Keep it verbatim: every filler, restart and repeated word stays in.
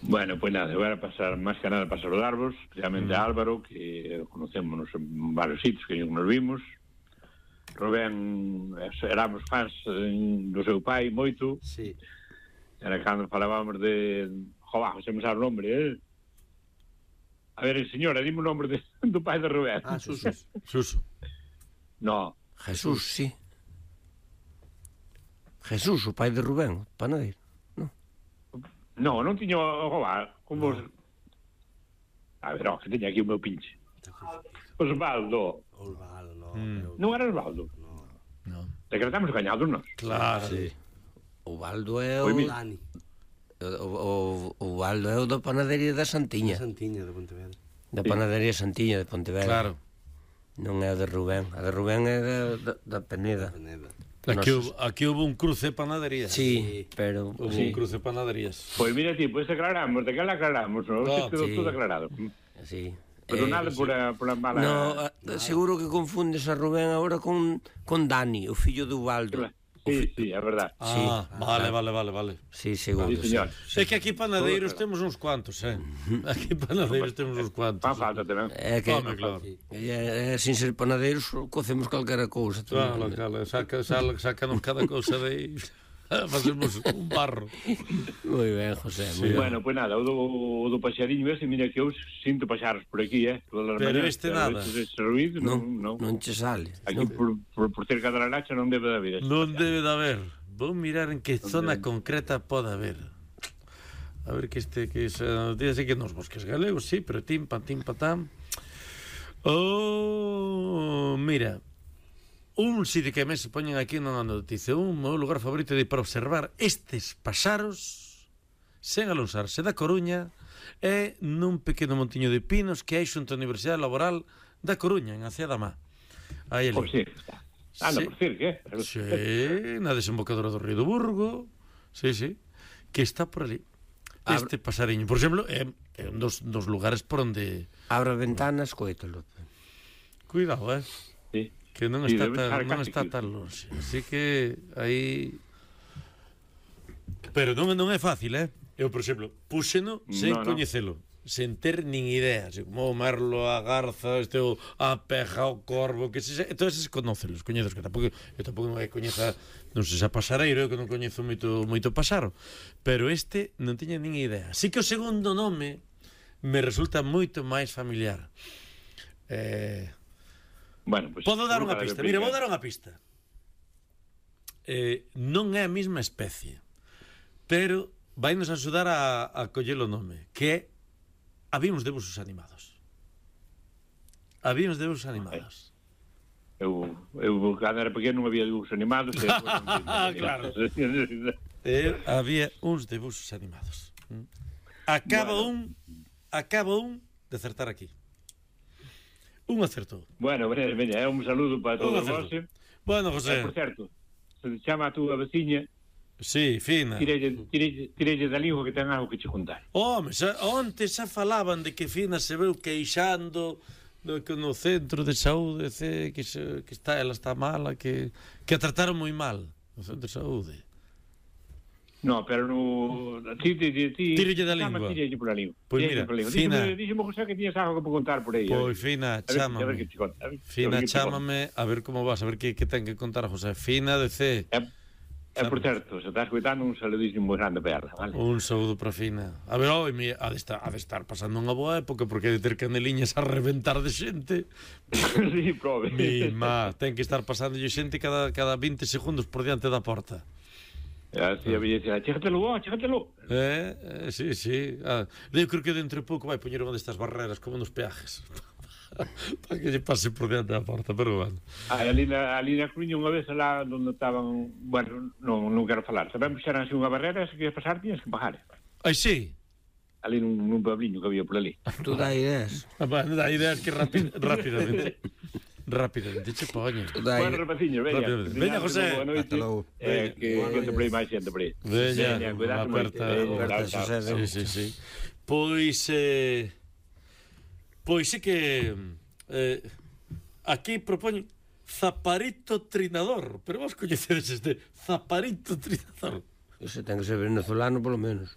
Bueno, pois nada, eu era pasar máis que nada para saludarvos, especialmente mm. a Álvaro, que conocémonos en varios sitios que nos vimos. Rubén, éramos fans do seu pai moito. Sí. Era cando falábamos de... Jová, se me sabe o nombre, eh? A ver, señora, dime o nombre de, do pai de Rubén. Ah, Suso. Suso. No. Jesús, sí. Jesús, o pai de Rubén, panadeiro. No, non tiño, jová, como... No. A ver, ó, que teña aquí o meu pinche. Osvaldo. Osvaldo, no. Mm. Non era Osvaldo? No. No. Decretamos gañados, nós. Claro. Sí. O Baldo é o... Dani. O, o, o Baldo é o da panadería da Santiña. Da Santiña, de Pontevedra. Da panadería Santiña, de Pontevedra. Claro. Non é o de Rubén. A de Rubén é da, da, da Peneda. Da Peneda. Aquí, hubo, aquí hubo un cruce de panaderías. Sí, pero... Hubo sí. un cruce de panaderías. Pois pues mira, ti, pois pues aclaramos, de que la aclaramos, non? No, quedou sí. todo aclarado. Sí. Pero eh, nada sí. por, a, por a mala... No, a, seguro que confundes a Rubén agora con, con Dani, o fillo do Baldo. Sí, sí, é verdad. Ah, sí. vale, vale, vale, vale. Sí, seguro. Sí, señor. Sí. É que aquí panadeiros Todo, temos uns cuantos, eh? Aquí panadeiros temos uns cuantos. Fan falta tamén. É que, Home, claro. É, é, sin ser panadeiros, cocemos calquera cousa. Claro, claro, saca, saca, sácanos cada cousa de aí. Facemos un barro. Moi ben, José, moi sí. ben. Bueno, pois pues nada, o do, o do paxariño ese, mira que eu sinto paxaros por aquí, eh? Pero mañana, este nada. Ese ruido, non, non, non che sale. Aquí non. por, por, por cerca da Laracha non debe de haber. Non debe de haber. Vou mirar en que zona concreta pode haber. A ver que este, que esa, dice que nos bosques galegos, sí, pero tim, pam, tim, patam. Oh, mira, un sitio que me se poñen aquí na noticia, un meu lugar favorito de para observar estes paxaros sen alonsarse da Coruña é nun pequeno montiño de pinos que hai xunto á Universidade Laboral da Coruña, en Acea da Má. Aí ali. Por si, está. Anda, sí. Por decir, que? Sí, na desembocadura do Río do Burgo. Sí, sí. Que está por ali. Este pasariño, por exemplo, é, é un dos, dos lugares por onde... Abra ventanas, coítalo. Cuidado, eh? Sí. Que non sí, está, tan, non casi está tan longe. Así que aí... Pero non, non é fácil, eh? Eu, por exemplo, púxeno sen no, coñecelo. No. Sen ter nin idea, así como o merlo, a garza, este o a peja, o corvo, que se, todos eses conócelos, coñezos que tampouco, eu tampouco non é coñeza, non sei se a pasareiro, eu que non coñezo moito moito pasaro, pero este non tiña nin idea. Así que o segundo nome me resulta moito máis familiar. Eh, bueno, pues, podo dar unha pista. Mira, vou dar unha pista. Eh, non é a mesma especie, pero vainos a axudar a, a coller o nome, que é Habíamos de busos animados. Habíamos de busos animados. Eu, eu cando era pequeno non había busos animados. Claro. Eu, había uns de busos animados. Acaba bueno. un acaba un de acertar aquí. Un acertou. Bueno, veña, é un saludo para todos vos. Bueno, José. Eh, por certo, se chama a túa veciña. Sí, fina. Tirelle da língua que ten algo que che contar. Home, xa, onte xa falaban de que Fina se veu queixando do que no centro de saúde que, se, que está, ela está mala, que, que a trataron moi mal no centro de saúde. No, pero no... Ti, ti, ti, ti, Tirelle da língua. Tirelle por a língua. Pois mira, Fina... Díxeme, José, que tiñas algo que contar por aí. Pois, Fina, chámame. Fina, chámame, a ver como vas, a ver que, que ten que contar a José. Fina, de C... Eh, E, por certo, se estás escuitando, un saludísimo moi grande para ela, vale? Un saúdo para Fina. A ver, oi, ha de estar, ha de estar pasando unha boa época, porque hai de ter caneliñas a reventar de xente. Sí, prove. Mi má, ten que estar pasando xente cada, cada veinte segundos por diante da porta. E así a belleza, chégatelo, oh, chégatelo. Eh, eh, sí, sí. Ah, eu creo que dentro de pouco vai poñer unha destas barreras, como nos peajes. Para que lle pase por diante da porta, pero bueno. Ah, ali na, ali na Coruña unha vez lá onde estaban, bueno, non, non quero falar, sabemos que xeran unha barrera, se queres pasar tienes que pagar. Ai, sí? Ali nun, nun puebliño que había por ali. Tú dá ideas. Ah, bueno, dá ideas que rápid, rápidamente. Rápidamente, che poño. Bueno, rapaciño, veña. Veña, José. Hasta logo. Eh, que que te por aí máis xente por aí. Veña, cuidado moito. Sí, sí, sí. Pois eh Pois sí que eh, aquí propoñen zaparito trinador, pero vos coñecedes este zaparito trinador. Ese ten que ser venezolano polo menos.